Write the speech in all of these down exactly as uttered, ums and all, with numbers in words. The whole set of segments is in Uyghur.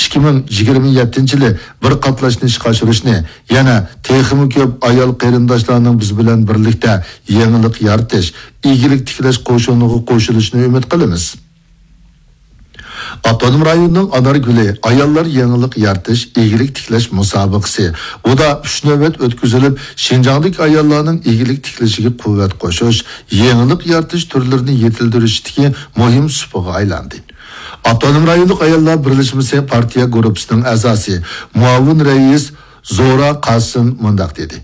ئىككى مىڭ يىگىرمە يەتتىنچى يىلى بىر قاتلاشنى ئىشقا ئاشۇرۇشنى، يەنە تېخىمۇ كۆپ ئايال قېرىنداشلارنىڭ بىز بىلەن بىرلىكتە يېڭىلىق يارىتىش، ئىگىلىك تىكلەش قوشۇنىغا قوشۇلۇشىنى ئۈمىد قىلىمىز. ئاپتونوم رايوننىڭ ئانارگۈلى ئاياللار يېڭىلىق يارىتىش، ئىگىلىك تىكلەش مۇسابىقىسى ئۇدا ئۈچ نۆۋەت ئۆتكۈزۈلۈپ، شىنجاڭدىكى ئاياللارنىڭ ئىگىلىك تىكلىشىگە قۇۋۋەت قوشۇش، يېڭىلىق يارىتىش تۈرلىرىنى يېتىلدۈرۈشتىكى مۇھىم سۇپىغا ئايلاندى. ئاپتونوم رايونلۇق ئاياللار بىرلەشمىسى پارتىيە گۇرۇپپىسىنىڭ ئەزاسى، مۇئاۋىن رەئىس زورا قاسىم مۇنداق دېدى: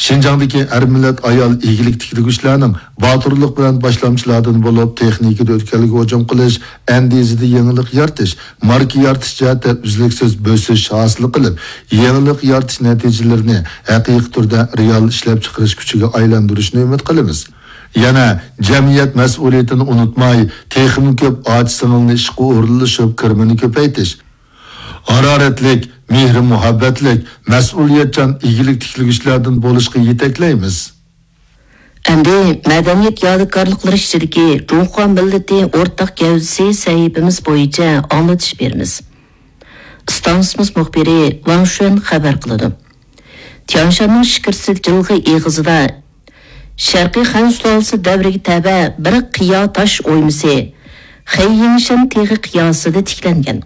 شىنجاڭدىكى ھەر مىللەت ئايال ئىگىلىك تىكلىگۈچىلەرنىڭ باتۇرلۇق بىلەن باشلامچىلاردىن بولۇپ، تېخنىكىدا ئۆتكەلگە ھۇجۇم قىلىش، ئەندىزىدە يېڭىلىق يارىتىش، ماركا يارىتىش جەھەتتە ئۈزلۈكسىز بۆسۈش ھاسىل قىلىپ، يېڭىلىق يارىتىش نەتىجىلىرىنى ھەقىقىي تۈردە رېئال ئىشلەپچىقىرىش كۈچىگە ئايلاندۇرۇشنى ئۈمىد قىلىمىز. يەنە جەمئىيەت مەسئۇلىيىتىنى ئۇنتۇماي، تېخىمۇ كۆپ ئاچا-سىڭىلنى ئىشقا ئورۇنلىشىپ، كىرىمىنى كۆپەيتىش، ھارارەتلىك، مېھرى-مۇھەببەتلىك، مەسئۇلىيەتچان ئىگىلىك تىكلىگۈچىلەردىن بولۇشقا يېتەكلەيمىز. ئەمدى مەدەنىيەت يادىكارلىقلىرى ئىچىدىكى جۇڭخۇا مىللىتى ئورتاق گەۋدىسى سەھىپىمىز بويىچە ئاڭلىتىش بېرىمىز. ئىستانسىمىز مۇخبىرى ۋاڭ شۈەن خەۋەر قىلىدۇ. تيانشاننىڭ شىكىرسىت جىلغا ئېغىزىدا شەرقىي خەن سۇلالىسى دەۋرىگە تەۋە بىر قىيا تاش ئويمىسى، خېي يىڭشەن تېغى قىياسىدا تىكلەنگەن.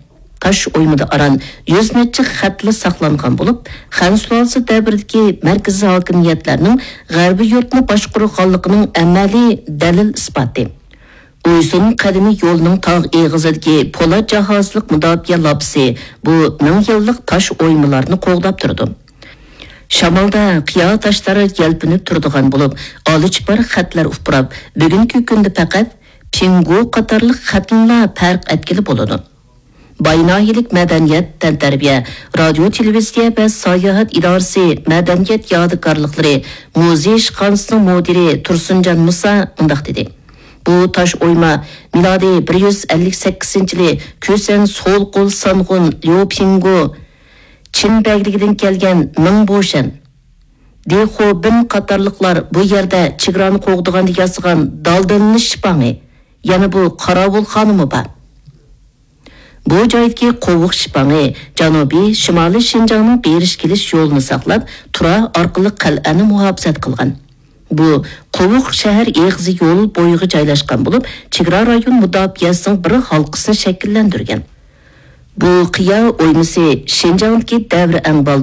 تاش ئويمىدا ئاران يۈز نەچچە خەتلا ساقلانغان بولۇپ، خەن سۇلالىسى دەۋرىدىكى مەركىزىي ھاكىمىيەتلەرنىڭ غەربىي يۇرتنى باشقۇرغانلىقىنىڭ ئەمەلىي دەلىل ئىسپاتى. ئۇيسۇن قەدىمىي يولىنىڭ تاغ ئېغىزىدىكى پولات جاھازلىق مۇداپىئە لاپىسى بۇ مىڭ يىللىق تاش ئويمىلارنى قوغداپ تۇرىدۇ. شامالدا قىيا تاشلار يەلپۈنۈپ تۇرىدىغان بولۇپ، ئالىچىپار خەتلەر ئۇپراپ، بۈگۈنكى كۈندە پەقەت پىڭگۇ قاتارلىق خەتنىلا پەرق ئەتكىلى بولىدۇ. باي ناھىيەلىك مەدەنىيەت، تەنتەربىيە، رادىيو، تېلېۋىزىيە ۋە ساياھەت ئىدارىسى مەدەنىيەت يادىكارلىقلىرى مۇزېي ئىشخانىسىنىڭ مۇدىرى تۇرسۇنجان مۇسا مۇنداق دېدى: بۇ تاش ئويما مىلادىي بىر يۈز ئەللىك سەككىزىنچى يىلى كۈسەن سول قول سانغۇن ليۇ پىڭگۇ چىن بەگلىكىدىن كەلگەن مىڭ بوشەن، دېخو بىن قاتارلىقلار بۇ يەردە چېگرانى قوغدىغاندا ياسىغان دالدىلىنىش شىپاڭى، يەنە بۇ قاراۋۇلخانىمۇ بار. بۇ جايدىكى قوۋۇق شىپاڭى جەنۇبىي، شىمالىي شىنجاڭنىڭ بېرىش-كېلىش يولىنى ساقلاپ، تۇرا ئارقىلىق قەلئەنى مۇھاپىزەت قىلغان. بۇ قوۋۇق شەھەر ئېغىزى يول بويىغا جايلاشقان بولۇپ، چېگرا رايون مۇداپىئەسىنىڭ بىر ھالقىسىنى شەكىللەندۈرگەن. بۇ قىيا ئويمىسى شىنجاڭدىكى دەۋر ئەڭبالدۇر